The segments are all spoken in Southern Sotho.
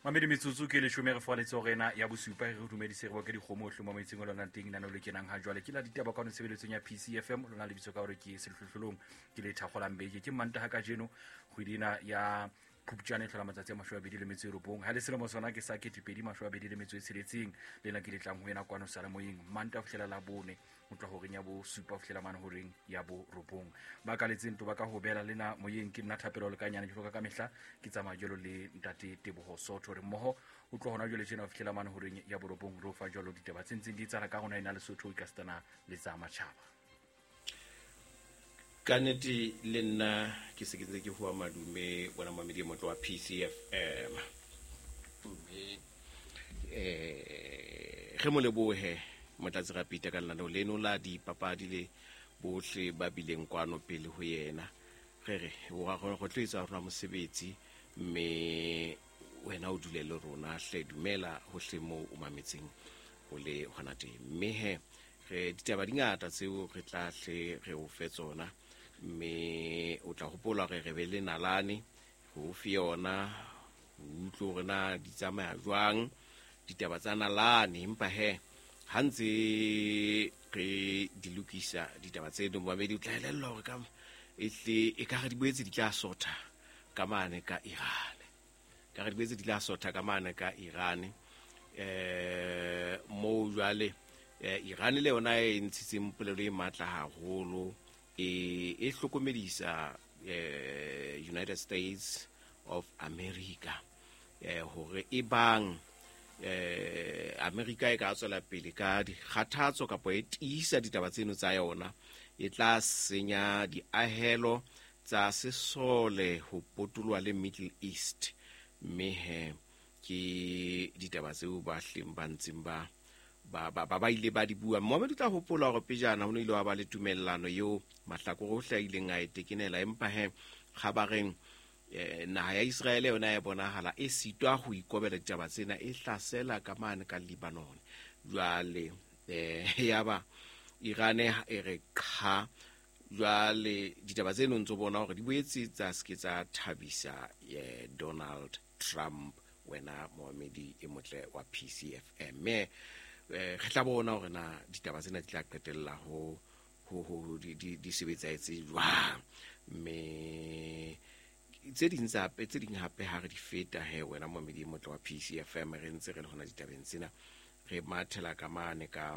Mamedi metsotso ke leshome re fa letsogo ena ya bosupa re dumedise re boke dikgomo otlhe mo metseng o lona teng nano le kenang ha jwale ke la ditaba kwano tshebeletsong ya PCFM lona lebitso ka hore ke sehlohlolong ke le thakgolang beke ke Mantaha kajeno kgwedi ena ya Phupjane e tlhola matsatsi a 29 ha le selemo sona ke sa 2026 lena ke le tlang ho ena kwano salemoyeng Mantaha ho fihlela la bone ho tloha horeng ya bosupa ho fihlela mane horeng ya borobong. Ba kaletseng to ba ka hobela le na moyeng ke nna Thapelo Lekanyane jwalo ka kamehla ke tsamaya jwalo le ntate Teboho Sotho re mmoho ho tloha hona jwale tjena ho fihlela mane horeng ya borobong re o fa jwalo ditaba tse ntseng di etsahala ka rona ena Lesotho e ka le tsa matjhaba. Ka nnete le nna ke se ke ntse ke hoa madume wena mamedi e motle wa PCFM mme re mo lebohe Motlatsi Rapita ka lenaneo leno la dipapadi le bohle ba bileng kwano pele ho yena. Re re go tlo etsa rona mosebetsi mme wena o dule le rona hle, dumela hohle moo o mametseng o le hona teng. Mme he re ditaba di ngata tseo re tla hle re o fe tsona, mme o tla hopola hore re be le nalane ho fe yona, o utlwe hore na di tsamaya jwang ditaba tsa nalane. Empa he ha ntse re di lokisa ditaba tseno, momamedi o tla elellwa hore ka ehle e ka re di boetse di tla sotha ka mane ka Iran, ka re di boetse di tla sotha ka mane ka Iran. Moo jwale Iran le yona e ntshitseng polelo e matla haholo e hlokomedisa United States of America hore e bang America e ka tswela pele ka dikgathatso kapa e tiisa ditaba tseno tsa yona, e tla senya diahelo tsa sesole ho potoloha le Middle East. Mme he ke ditaba tseo ba hleng ba ntseng ba ba ba ba ile ba di bua. Mohammed o tla hopola hore pejana ho ne ile wa ba le tumellano eo mahlakore ohle a ileng a e tekenela, empa he kgabareng naha ya Israele yona e bonahala e sitwa ho ikobela ditaba tsena, e hlasela ka mane ka Lebanon. Jwale yaba Iran e re qha. Jwale ditaba tseno ntso bona hore di boetse tsa se ke tsa thabisa Donald Trump, wena moamedi e motle wa PCFM. Mme re tla bona hore na ditaba tsena di tla qetella ho ho di di sebetsa etse jwang. Mme tse ding tsa tse ding hape ha re di feta he wena moamedi e motle wa PCFM, re ntse re le hona ditabeng tsena, re mathela ka mane ka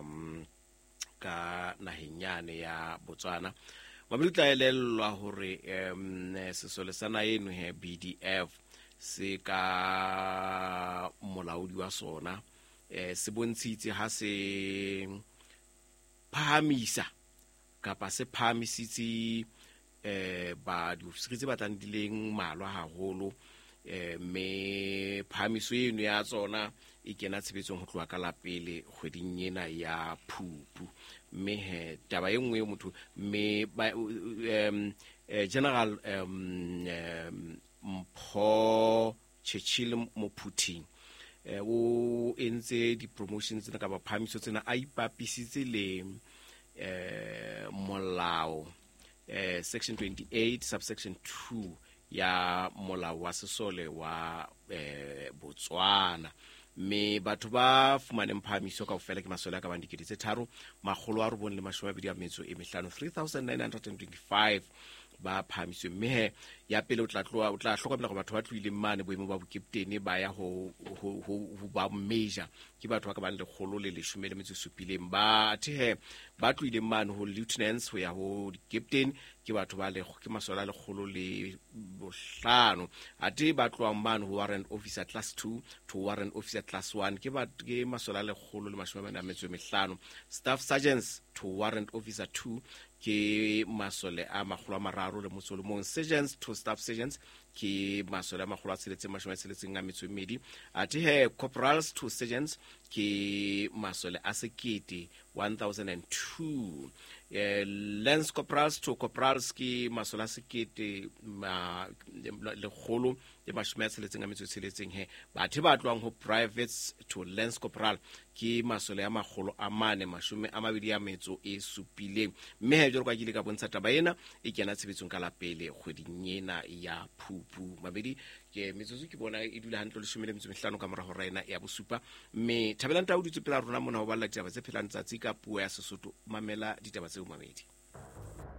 ka naheng yane ya Botswana. Mamedi o tla elellwa hore sesole sa naha eno he BDF se ka molaodi wa sona se bontshitse ha se phahamisa kapa se phahamisitse ba diofisiri tse batlang di leng mmalwa haholo, mme phahamiso eno ya tsona e kena tshebetsong ho tloha ka la pele kgweding ena ya Phupu. Mme he taba e nngwe motho mme General Mpho Churchill Mophuting o entse di-promotion tsena kapa phahamiso tsena a ipapisitse le molao section 28 subsection 2 ya molao wa sesole wa Botswana. Mme batho ba fumaneng phahamiso kaofela ke masole a ka bang 3925, 3925 ba phahamiswe. Mme he ya pele o tla tloha o tla hlokomela hore batho ba tlohileng mane boemo ba bokeptene ba ya ho ho ho ba major ke batho ba ka bang 117. Ba the ba tlohileng mane ho lieutenants ho ya ho captain ke batho ba le ke masole a 105. Athe ba tlohang mane ho warrant officer class 2 to warrant officer class 1 ke ba ke masole a 145. Staff sergeants to warrant officer 2 ke masole a 331. Sergeants to staff sergeants ke masole a 662. Athe he corporals to sergeants ke masole a sekete, 1002. Lance corporals to corporals ke masole a sekete 166. He batho ba tlohang ho privates to lance corporal ke masole a 427. Mme he jwalo ka ke ile ka bontsha taba ena e kena tshebetsong ka la pele kgweding ena ya Phupu. Mabedi Ke metsotso ke bona e dula hantle 15 ka mora hora ena ya bosupa. Mme Thabelang Tau dutse pela rona mona ho balla ditaba tse phelang tsatsi ka puo ya Sesotho. Mamela ditaba tseo, mamedi.